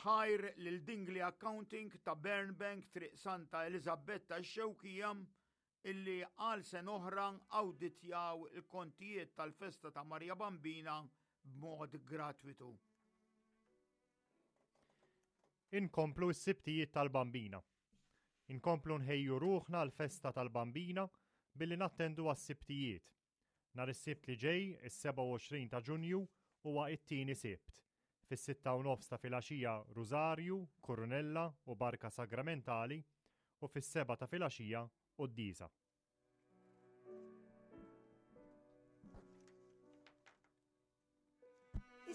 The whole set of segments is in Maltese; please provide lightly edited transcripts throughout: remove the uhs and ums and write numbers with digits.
Ħajr lil Dingli Accounting ta' Burnbank Triq Santa Eliżabetta x-Xewkija illi għal sena oħra awditjaw il-kontijiet tal-festa ta' Marja Bambina b'mod gratwitu. Inkomplu s-Sibtijiet tal-Bambina. Inkomplu nħejju ruħna għall-festa tal-Bambina billi nattendu għas-Sibtijiet. Nhar is-Sibt li ġej, is-27 ta' Ġunju, huwa it-tieni Sibt. Fis-sitta u nofs ta' filgħaxija Rużarju, Kurunella u Barka Sagramentali u fis-sebgħa ta' filgħaxija Quddiesa.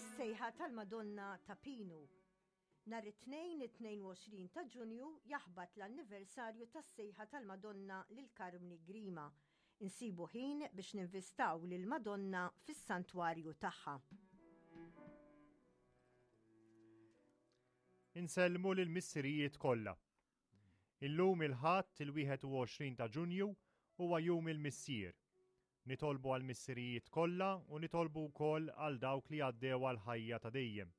Is-sejħa tal-Madonna ta' Pinu. Nhar it-Tnejn it-22 ta' Ġunju jaħbat l-anniversarju tas-sejħa tal-Madonna lil Karmni Grima. Insibu ħin biex ninvistaw lill-Madonna fis-santwarju tagħha. Insellmu lill-missirijiet kollha. Illum il-Ħadd il-21 ta' Ġunju huwa Jum il-Missier. Nitolbu għall-missirijiet kollha u nitolbu wkoll għal dawk li għaddew għall-ħajja ta' dejjem.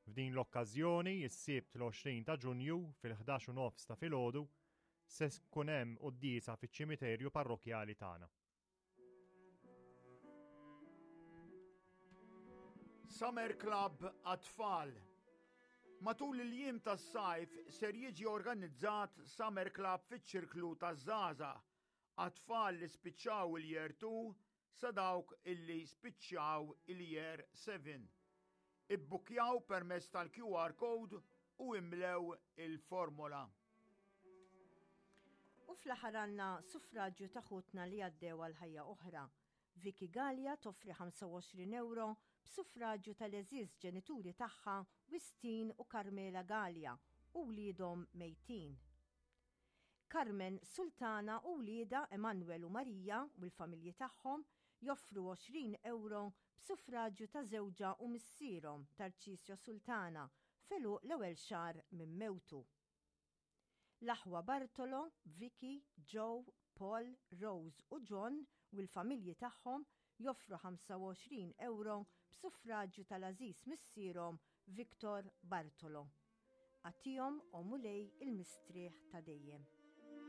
F'din l-okkażjoni, is-Sibt l-20 ta' Ġunju fil-11 u nofs ta' filgħodu se tkun hemm quddiesa fiċ-ċimiterju parrokkjali tagħna. Summer Club għat-tfal. Matul il-jiem tas-sajf ser jiġi organizzat Summer Club fiċ-Ċirklu taż-Żgħażagħ għat-tfal li spiċċaw il-Year 2 sa dawk illi spiċċaw il-Year 7. Ibbukkjaw permezz tal-QR code u imlew il-formola. U fl-aħħar għandna suffraġġju ta' ħutna li għaddew għal ħajja oħra. Vicky Galea toffri 25 ewro b'suffraġġju tal-għeżież ġenituri tagħha Wistin u Carmela Galea u wliedhom mejtin. Carmen Sultana u wliedha Emanuel u Maria u l-familji tagħhom joffru 20 ewro b'suffraġju ta' żewġha u missierhom Tarcisio Sultana f'għeluq l-ewwel xahar minn mewtu. L-aħwa Bartolo, Vicky, Joe, Paul, Rose u John u l-familji tagħhom joffru 25 ewro b'suffraġju tal-għażiż missierhom Victor Bartolo. Agħtihom, o Mulej, il-mistrieħ ta' dejjem.